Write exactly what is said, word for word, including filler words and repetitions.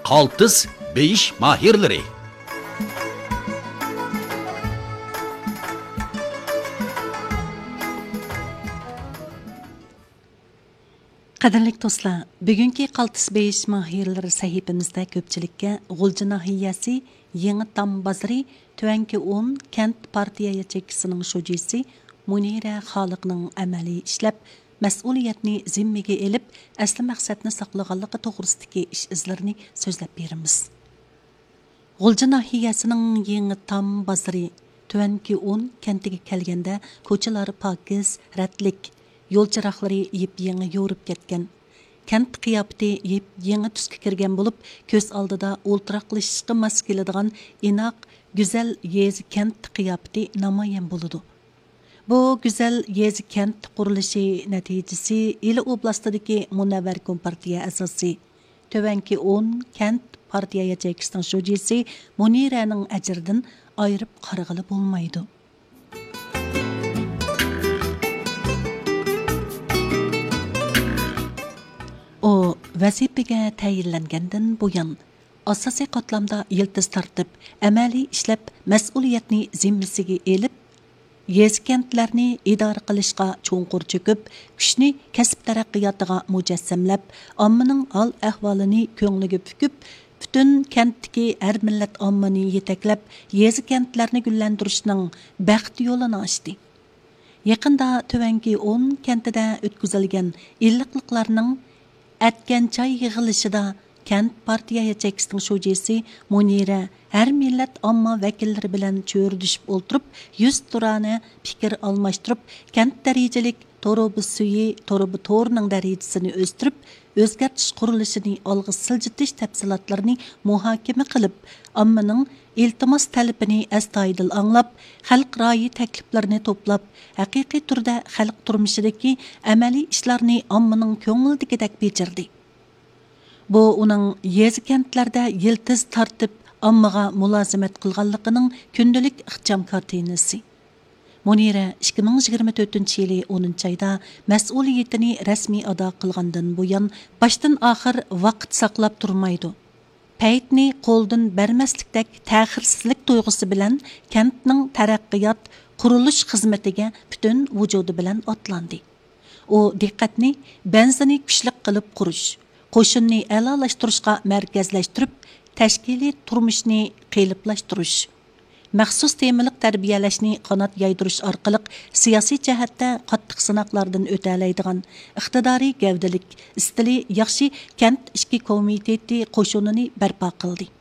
قالتىس بېيىش ماھىرلىرى. قەدىرلىك دوستلار، بۈگۈنكى قالتىس بېيىش ماھىرلىرى سەھىپىمىزدە كۆپچىلىككە غۇلجا ناھىيەسى يېڭى تام بازىرى تۆۋەنكى ئون كەنت پارتىيە ياچېيكىسىنىڭ شۇجىسى مۇنىرە خالىقنىڭ ئەمەلىي ئىشلەپ، مەسئۇلىيەتنى زىممىگە ئېلىپ، ئەسلى مەقسەتنى ساقلىغانلىقى توغرىسىدىكى ئىش ئىزلىرىنى سۆزلەپ بېرىمىز. غۇلجا ناھىيەسىنىڭ يېڭى تام بازىرى تۆۋەنكى ئون كەنتىگە كەلگەندە، كوچىلار پاكىز، رەتلىك، يول چىراغلىرى يېپيېڭى يورۇپ كەتكەن. كەنت قىياپىتى يېپيېڭى تۈسكە كىرگەن بولۇپ، كۆز ئالدىدا ئولتۇراقلىشىشقا ماس كېلىدىغان ئىناق، گۈزەل يېزا كەنت قىياپىتى نامايان بولىدۇ. بۇ گۈزەل يېزا كەنت قۇرۇلۇشى نەتىجىسى ئىلى ئوبلاستىدىكى مۇنەۋۋەر كومپارتىيە ئەزاسى، تۆۋەنكى ئون كەنت پارتىيە ياچېيكىسىنىڭ شۇجىسى مۇنىرەنىڭ ئەجرىدىن ئايرىپ قارىغىلى بولمايدۇ. ئۇ ۋەزىپىگە تەيىنلەنگەندىن بۇيان، ئاساسىي قاتلامدا يىلتىز تارتىپ، ئەمەلىي ئىشلەپ، مەسئۇلىيەتنى زىممىسىگە ئېلىپ، يېزا كەنتلەرنى ئىدارە قىلىشقا چوڭقۇر چۆكۈپ، كۈچنى كەسىپ تەرەققىياتىغا مۇجەسسەملەپ، ئاممىنىڭ ھال ئەھۋالىنى كۆڭلىگە پۈكۈپ، پۈتۈن كەنتتىكى ھەر مىللەت ئاممىنى يېتەكلەپ، يېزا كەنتلەرنى گۈللەندۈرۈشنىڭ بەخت يولىنى ئاچتى. يېقىندا تۆۋەنكى ئون كەنتىدە ئۆتكۈزۈلگەن ئىللىقلىقلارنىڭ ئەتكەن چاي يىغىلىشىدا كەنت پارتىيە ياچېيكىسىنىڭ شۇجىسى مۇنىرە ھەر مىللەت ئامما ۋەكىللىرى بىلەن چۆرىدىشىپ ئولتۇرۇپ، يۈزتۇرانە پىكىر ئالماشتۇرۇپ، كەنت دەرىجىلىك تۇرۇبا سۈيى، تۇرۇبا تورىنىڭ دەرىجىسىنى ئۆستۈرۈپ، ئۆزگەرتىش قۇرۇلۇشىنى ئالغا سىلجىتىش تەپسىلاتلىرىنى مۇھاكىمە قىلىپ، ئاممىنىڭ ئىلتىماس تەلىپىنى ئەستايىدىل ئاڭلاپ، خەلق رايى تەكلىپلىرىنى توپلاپ، ھەقىقىي تۈردە خەلق تۇرمۇشىدىكى ئەمەلىي ئىشلارنى ئاممىنىڭ كۆڭلىدىكىدەك بېجىردى. بۇ ئۇنىڭ يېزا كەنتلەردە يىلتىز تارتىپ، ئاممىغا مۇلازىمەت قىلغانلىقىنىڭ كۈندىلىك ئىخچام كارتىنىسى. مۇنىرە ئىككى مىڭ يىگىرمە تۆتىنچى يىلى ئونىنچى ئايدا مەسئۇلىيىتىنى رەسمىي ئادا قىلغاندىن بۇيان، باشتىن ئاخىر ۋاقىت ساقلاپ تۇرمايدۇ. پەيتنى قولدىن بەرمەسلىكتەك تەخىرسىزلىك تۇيغۇسى بىلەن كەنتنىڭ تەرەققىيات، قۇرۇلۇش خىزمىتىگە پۈتۈن ۋۇجۇدى بىلەن ئاتلاندى. ئۇ دىققەتنى بەنزىنى كۈچلۈك قىلىپ قۇرۇش، قوشۇننى ئەلالاشتۇرۇشقا مەركەزلەشتۈرۈپ، تەشكىلىي تۇرمۇشنى قېلىپلاشتۇرۇش، مەخسۇس تېمىلىق تەربىيەلەشنى قانات يايدۇرۇش ئارقىلىق سىياسىي جەھەتتە قاتتىق سىناقلاردىن ئۆتەلەيدىغان، ئىقتىدارى گەۋدىلىك، ئىستىلى ياخشى كەنت ئىچكى كومىتېتى قوشۇنىنى بەرپا قىلدى.